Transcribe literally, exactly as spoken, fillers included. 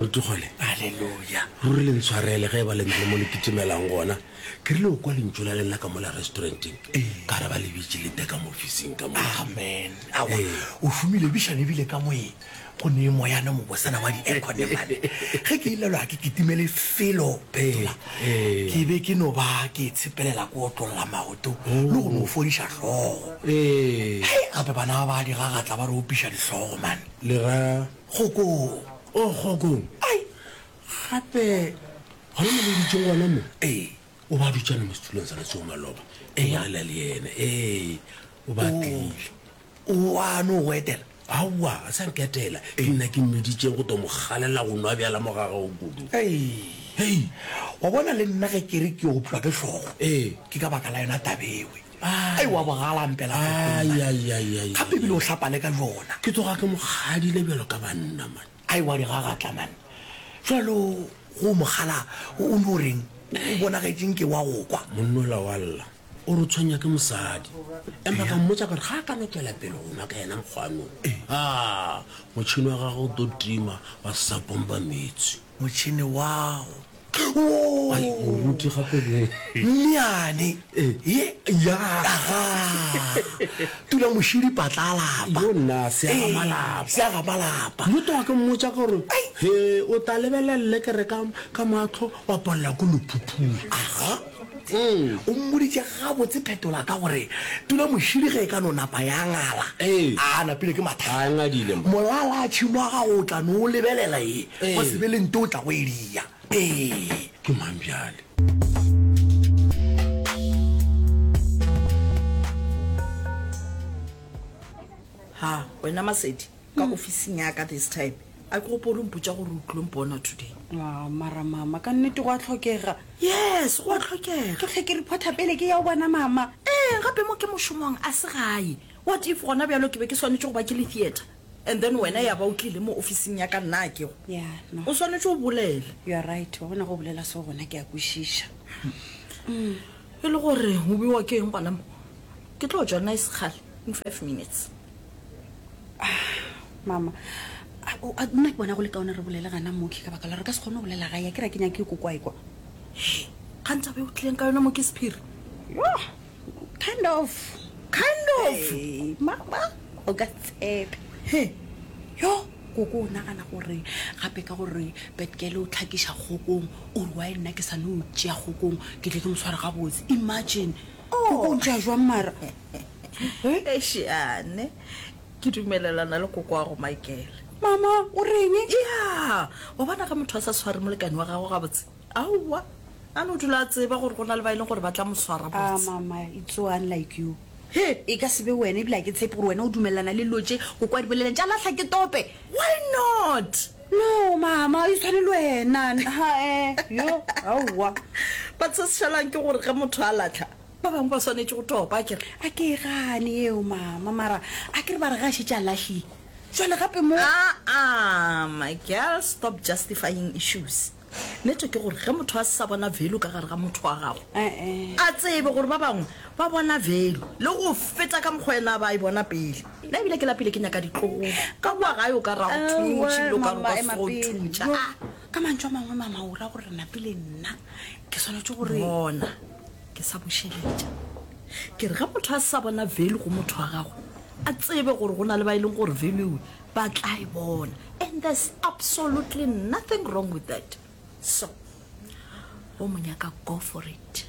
Rutugole. Aleluya. Ruri le ntshwarele ge e ba le na le mo le kitimelang gona. Ke rile o kwa lentšu la lena ka mola restauranteng, ka re ba le bitše le te ka mo ofising ka mo. Amen. Aowa, o šomile bišane ebile ka moe go ne moyana mobosana wa di-aircon mane. Ge ke ilelwa ke kitimele felo Phetola, ke be ke no ba ke itshepelela ke otlolla maoto le go no fodiša hlogo. Hei, gape bana ba ba digagatla ba re opiša dihlogo man. Le ra Kgokong. O kgokong. Ai! Gape gona mo le dutšeng gona mo? Ee. O ba dutšana mo setulong sa letsogo maloba. Ke bolela le yena. Ee, o ba tlile. O a no go etela? Aowa, a sa nketela. Ke nna ke mmiditšeng go tlo mo kgalela go nwa bjala mo ga gago kudu. Hei! Hei! Wa bona le nna ge ke re ke opšwa ke hlogo, Ee. ke ka baka la yona taba ewe. Ai! Ai, wa bogala mpela kgokong, Ai, man. ai, ai, ai, Gape ai, ebile o ai. hlapa le ka bjona. Ke tloga ke mo kgadile bjalo ka banna, man. Ai, wa di gagatla, man. Bjalo go mo kgala o no reng? O bonagetše nke wa go kwa. Monnola wa lla, o re o tshwenya ke mosadi. Empa ka mmotša ka re ga a ka no tšwela pele go nwa ka yena mokgwa no, aa, motšhene wa gagwe o tlo tima wa se sa pompa meetse. Motšhene wa go. Ai, moruti gape le. Mmeane ye. Ya. Aga. Tula mošidi patla a lapa. Yo nna, se aga malapa. Se aga malapa. Yo tloga ke mmotša ka gore, he, o tla lebelela lelekere ka, ka mahlo, wa palela ke lephuphula. Aga. O mmoditše gabotse Phetola ka gore tula mošidi ge e ka no napa ya ngala, a napile ke mathata. A ngadile mma. Molala tšhimo wa gago o tla no o lebelela ye, go se be le nto o tla go e dia. Ee. Ke mang bjale? Ha, wena Masedi, ka ofising ya ka this time. A ke gopole o mpotša gore o tlilo mpona today. Ah, mara mama, ka nnete go a hlokega. Yes, go a hlokega. Ke hlwe ke reporta pele ke ya o bona mama. Ee, gape mo ke mošomong, a se gae. What if gona bjalo ke be ke swanetše go ba ke le theatre and then wena ya ba o tlile mo ofising ya ka nna a kego? Yeah, no. O swanetše o bolele. You are right, wa bona ge o bolela so gona ke a kwešiša. E le gore o bewa ke eng gona mo? Ke tlo tšwa nna e se kgale, in five minutes. Mama, a, o, a, nna ke bona go le kaone re bolele gana mo, ke ka baka la gore re ka se kgone go bolela gae, a ke re a ke nyake ko kwa e kwa. Hei, kgang taba e o tlileng ka yona mo ke sephiri? Yoh, kind of. Kind of? Hey, mama, o ka se tshepe. He. Yoh, koko o nagana gore gape ka gore Betkele o tlhakiša kgokong, o re why nna ke sa no tšea kgokong, ke tle ke mo sware gabotse. Imagine. Koko o ntšea jwang mara? Eish, ane, ke dumelelana le kokoago Michael. Mama, o reng? Ya, wa bona ge motho a sa sware molekane wa gagwe gabotse, aowa, a no dula a tseba gore go na le ba e leng gore ba tla mo swara Ah, botse. mama, it's so unlike you. He! E ka se be wena, ebile ga ke tshepe gore wena o dumelelana le dilo tše koko a di bolelang tša lahla ke tope. Why not? No, mama, e tshwane le wena. Ha, eh, yo, aowa. But se se šalang ke gore ge motho a lahla, ba bangwe ba swanetše go topa, a ke re? A ke e gane yeo, mama, mara a ke re ba re ge a šetše a lahlile, jwale gape mo. Aa, my girl, stop justifying issues. Nnete ke gore ge motho a se sa bona value ka gare ga motho wa gagwe, a tsebe gore ba bangwe ba bona value le go feta ka mokgwa yena a ba e bona pele. Nna ebile ke lapile ke nyaka ditlogolo. Ka kua gae o ka ra go thunye motšhini o ka re o ka se go thuntšha. Ka mantšu a mangwe, mama, o ra gore re napile nna ke swanetše gore. Bona, ke sa bušeletša. Ke re ge motho a se sa bona value go motho wa gagwe, a tsebe gore go na le ba e leng gore value ba tla e bona. And there's absolutely nothing wrong with that. So, go mo nyaka, go for it.